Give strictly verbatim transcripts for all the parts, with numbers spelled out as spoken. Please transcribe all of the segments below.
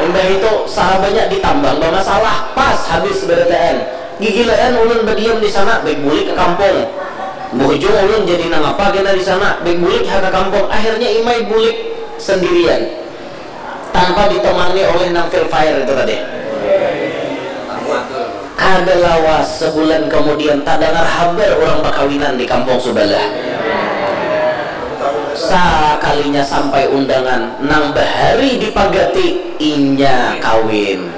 Imbah itu sarabanya ditambang bamasalah, pas habis barataan. Gigilaan ulun badiam di sana, baik bulik ka kampung. Buhujung ulun jadi nangapa kena di sana, baik bulik ha ka kampung. Akhirnya Imai bulik sendirian tanpa ditemani oleh nang Fil Fire itu tadi. Kada lawas, sebulan kemudian, tadangar habar urang bakawinan di kampung subalah. Sakalinya sampai undangan, nang bahari dipagati, inya kawin.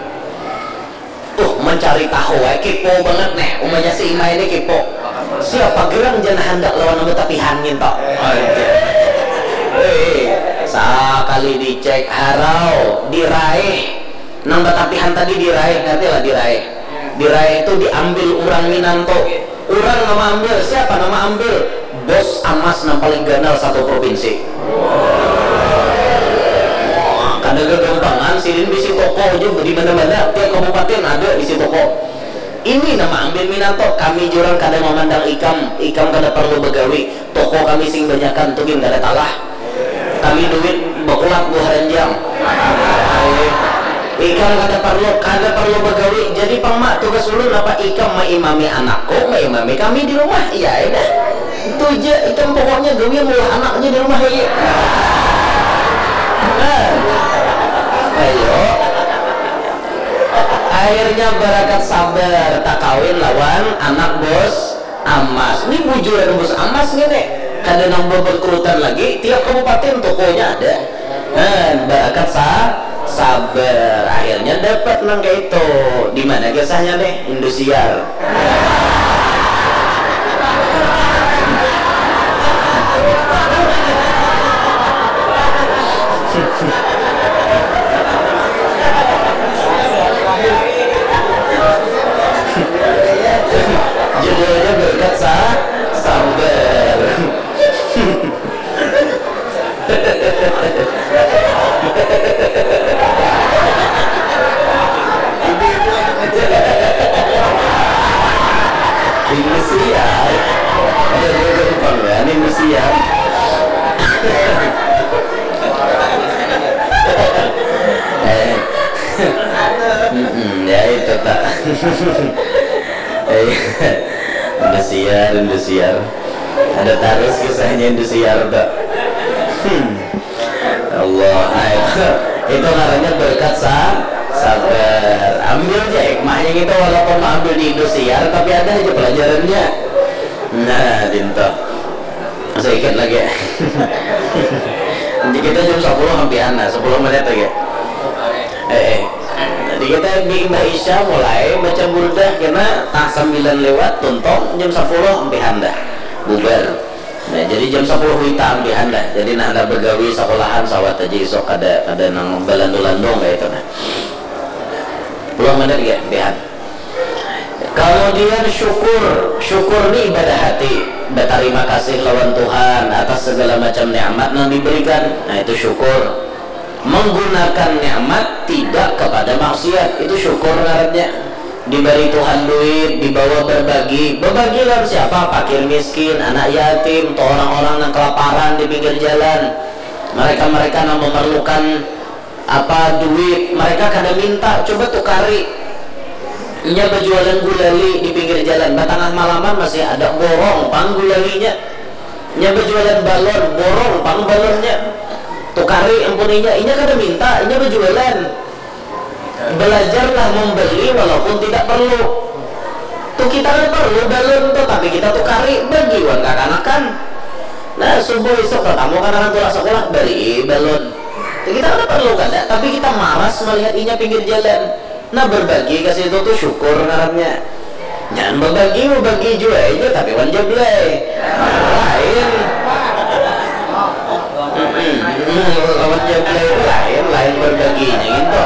Uh, mencari tahu, eh, kepo banget nih, umanya si Ima ini kepo. Siapa gerang jan handak lawan nang batapihan nginto? Anjay. Eh, sakali dicek, harau, diraih. Nang batapihan tadi diraih, ngerti lah diraih. Diraih itu diambil urang Minanto. Urang nama ambil, siapa nama ambil? Bos Amas nang paling ganal satu provinsi. Wah, kada gagampangan, sidin bisi toko aja di mana-mana, tiap kabupaten ada bisi toko. Ini nama ambil Minanto, kami jurang kada mamandang ikam, ikam kada perlu begawi, toko kami sing banyakan tu gin kada talah. Kami duit bakulat buah ranjang. Ikam kada parlu, kada parlu bagawi. Jadi pang ma, tugas ulun napa? Ikam maimami anakku, maimami kami di rumah. Iya ai dah. Itu ja, ikam pokoknya gawian maulah anak ja di rumah lagi. Nah. Ayo. Akhirnya barakat sabar takawin lawan anak bos Amas. Ni bujuran bos Amas ngini. Kada nang babangkrutan lagi, tiap kabupaten tokonya ada. Nah, barakat sa sabar. Akhirnya dapat nang kaitu. Di mana kisahnya nih? Indosiar. Judulnya berkat sa sabar. Ini siap. Ada dua gampang kan ini siap. Eh. Mm-mm, ya itu tak. Eh, Indosiar, Indosiar. Ada tarus kisahnya Indosiar tak. Hmm. Allah, nah, itu, itu ngarannya berkat sa sabar. Ambil aja hikmahnya gitu, walaupun ambil di Indosiar, tapi ada aja pelajarannya. Nah, dinto. Sedikit lagi. Nanti kita jam sepuluh ampihan lah, sepuluh menit lagi. Eh, eh. Jadi kita di Imbah Isya mulai baca burdah kena tah sembilan lewat, tuntung jam sepuluh ampihan dah. Bubar. Nah, jadi jam sepuluh wita ampihan dah. Jadi nah, handak begawi sekolahan sawat aja isuk, kada, kada nang balandu-landung kayak itu nah. Puluh menit ya ampihan. Kemudian syukur. Syukur ni ibadah hati. Berterima kasih lawan Tuhan atas segala macam nikmat yang diberikan. Nah, itu syukur. Menggunakan nikmat tidak kepada maksiat, itu syukur ngarannya. Diberi Tuhan duit, dibawa berbagi. Berbagi lawan siapa? Fakir miskin, anak yatim, atau orang-orang yang kelaparan di pinggir jalan. Mereka-mereka yang memerlukan apa duit, mereka kada minta, coba tukari. Inya berjualan gulali di pinggir jalan, batangah malaman masih ada, borong pang gulalinya. Inya berjualan balon, borong pang balonnya. Tukari ampun inya, inya kada minta, inya berjualan. Belajarlah membeli walaupun tidak perlu. Tuh kita kada perlu balon tuh, tapi kita tukari, bagi wan kakanakan. Nah, subuh isuk tatamu kanakan tulak sekolah, beri balon. Tuh kita kada perlu kada, tapi kita maras melihat inya pinggir jalan. Nah, berbagi ka situ tuh syukur ngarannya. Jangan berbagi, berbagi jua aja, tapi wan jablay. Lain. Mm-mm. Lawan jablay itu lain, lain berbaginya gitu.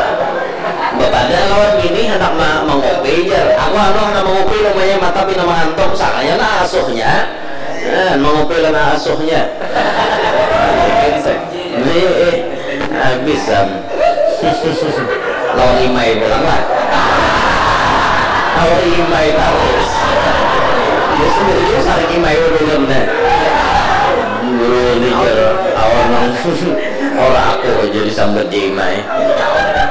Bapadah lawan bini handak ma mangupi jar. Aku anu handak mangupi namanya mata pina mangantuk, sakanya nah asuhnya. Nah, mangupi lah nah asuhnya. Ini eh, habis am. Lawan imai pulang lah. Lawan imai terus. Ya sendiri saling imai ulun dah. Guru ni jar awan nang ora aku aja disambat di imai.